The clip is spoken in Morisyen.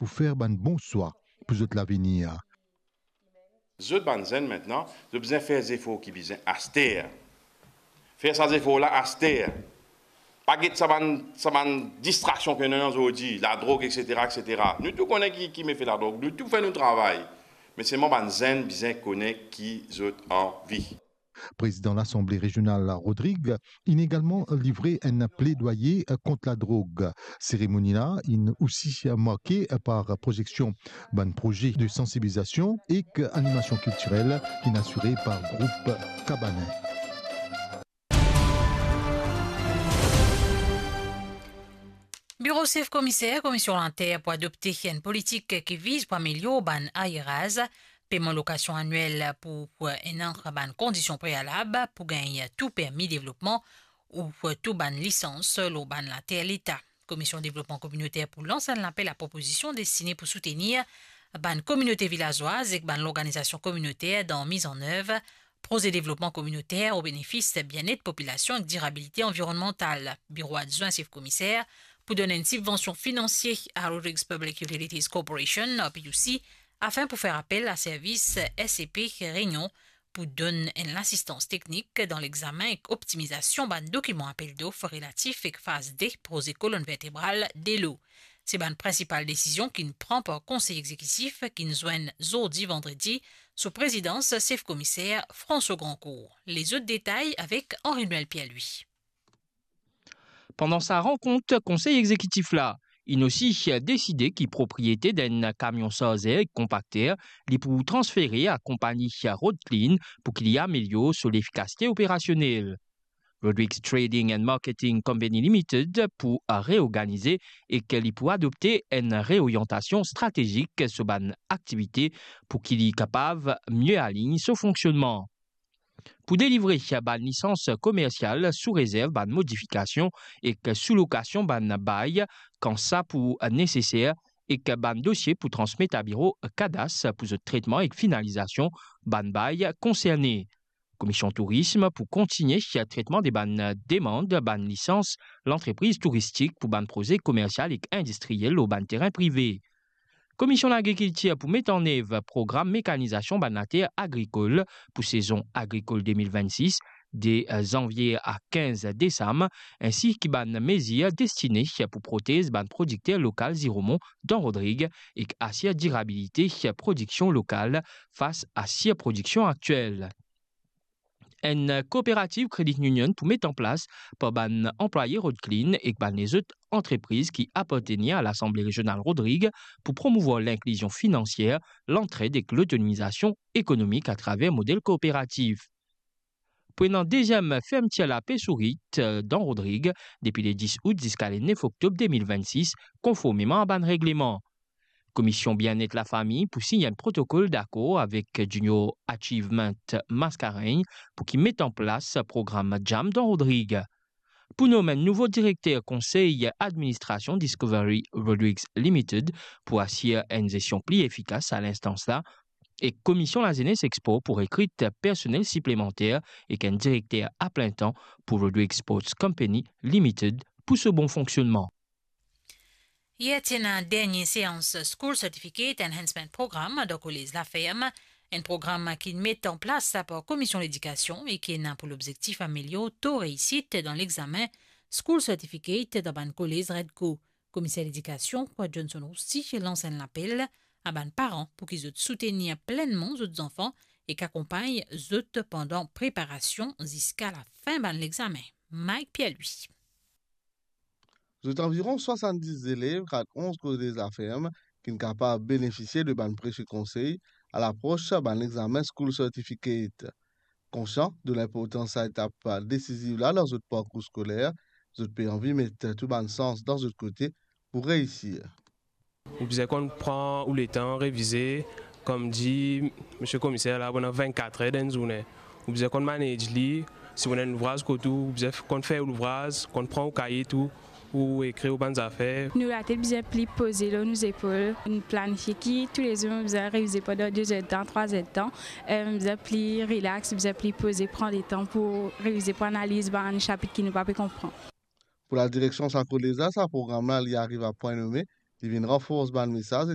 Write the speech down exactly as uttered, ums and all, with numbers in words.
pou fer bann bon swa pou zot lavenir. Zot bann zenn mintnan, zot bizin fer zefor ki bizin aster. Fer sa zefor la aster. Pa get sa bann, sa bann distraksion ki ena zordi, ladrog, et cetera, et cetera. Nou tou kone ki, ki mefe ladrog, nou tou fer nou travay. Me selman bann zenn bizin kone ki zot anvi. Prezidan Lasanble Rezional Rodrig inn egalman livre enn pledwaye kont ladrog. Seremoni la inn osi marke par proyeksion bann proze de sansibilizasion ek animasion kiltirel ki'nn asire par group Kabanin. Biro Sef Komiser Komisyon Later pou adopte enn politik ki viz pou amelior bann ayeraz. Peman lokasion aniel pou enn bann kondision prealab pou gagn tou permi devlopman ou tou bann lisans lor bann later Leta. Komisyon Devlopman Kominoter pou lans enn lapel a propozision destine pou soutenir bann kominote vilazwaz ek bann lorganizasion kominoter dan miz an nev proze devlopman kominoter o benefis bienet popilasion ek dirabilite anvironnmantal. Biro Adwin Sef Komiser pou donn enn sibvansion finansie a Rodrigues Public Utilities Corporation, R P U C, afin pou fer apel a servis S E P Réunion pou donn enn lasistans teknik dan legzamin ek optimizasion bann dokiman apel dof relatif ek faz de proze kolonn vertebral Delo. Se bann prinsipal desizion ki'nn pran par Konsey Egzekitif ki'nn zwenn zordi vandredi sou prezidans Sef Komiser François Grandcourt. Lezot detay avek Henri-Noël Pierre-Louis. Pandan sa rankont Konsey Egzekitif la, inn osi deside ki propriete d'enn kamion sarzer ek konpakter li pou transfere a konpagni Road Clean pou ki li amelior so lefikasite operasionel. Rodrigues Trading and Marketing Company Limited pou reorganize ek li pou adopte enn reoryantasion stratezik so bann aktivite pou ki li kapav mie align so fonksionnman. Pou delivre bann lisans komersial sou rezerv bann modifikasion ek sou lokasion bann bay, kan sa pou neseser, ek bann dosie pou transmet a biro Kadas pou zot tretman ek finalizasion bann bay konserne. Komisyon Tourism pou kontigne tretman de bann demann bann lisans lantrepriz touristik pou bann proze komersial ek indistriyel lor bann terin prive. Komisyon Lagrikiltir pou met an nev program mekanizasion bann later agrikol pou sezon agrikol de mil vennsis, de zanvie a kinz desam, ensi ki bann mezir destine pou protez bann prodikter lokal ziromon dan Rodrig ek asir dirabilite prodiksion lokal fas a sirprodiksion aktiel. Enn kooperativ Credit Union pou met an plas par bann anplwaye Road Clean ek bann lezot antrepriz ki apartenir a Lasanble Rezional Rodrig pou promouvwar linklizion finansier, lantred ek lotonomizasion ekonomik atraver model kooperativ. Pou ena deziem fermtir lape sourit, eh, dan Rodrig depi le dis out ziska le nef oktob de mil vennsis, konformeman a bann regleman. Komisyon Bienet Lafami pou sign enn protokol dakor avek Junior Achievement Mascarenhas pou ki met an plas program JAM dan Rodrig. Pou nom enn nouvo direkter konsey administrasion Discovery Rodrigues Limited pou asir enn zestion pli efikas a linstans la, ek Komisyon Lazenes ek Spor pou rekrit personel siplemanter ek enn direkter aplentan pou Rodrigues Sports Company Limited pou so bon fonksionnman. Yer ti ena dernie seans School Certificate Enhancement Program dan kolez Laferm, enn program ki met an plas par Komisyon Ledikasion e ki ena pou lobzektif amelior to reisit dan lexamen School Certificate dan bann kolez Redco. Komiser Ledikasion, Johnson Rousti, lans enn lapel a bann paran pou ki zot soutenir plennman zot zanfan ek akonpagn zot pandan preparasion ziska lafin bann lexamen. Mike Pierre-Louis. Zot anviron swasanndis zelev grad onz kolez Laferm ki'nn kapav benefisie de bann presie konsey a lapros bann lexamen School Certificate. Konsian de linportans sa etap desiziv la dan zot parkour skoler, zot pe anvi met tou bann sans dan zot kote pou reisir. Ou bizin konn pran ou letan revize, kouma dir misie komiser la, ou ena vennkat er dan enn zourne. Ou bizin konn manage li, si ou ena enn louvraz kot ou, ou bizin f-, konn fer ou louvraz, konn pran ou kaye tou, ou ekrir ou bann zafer. Nou latet bizin pli poze lor nou zepol, nou planifie ki toulezour nou bizin revize pandan de zerdan, trwa zerdan, eh, bizin pli relax, bizin pli poze, pran letan pou revize, pou analiz bann sapit ki nou pa pe konpran. Pou ladireksion sa kolez la, sa program la, li ariv a pwin nome, li vinn ranfors bann mesaz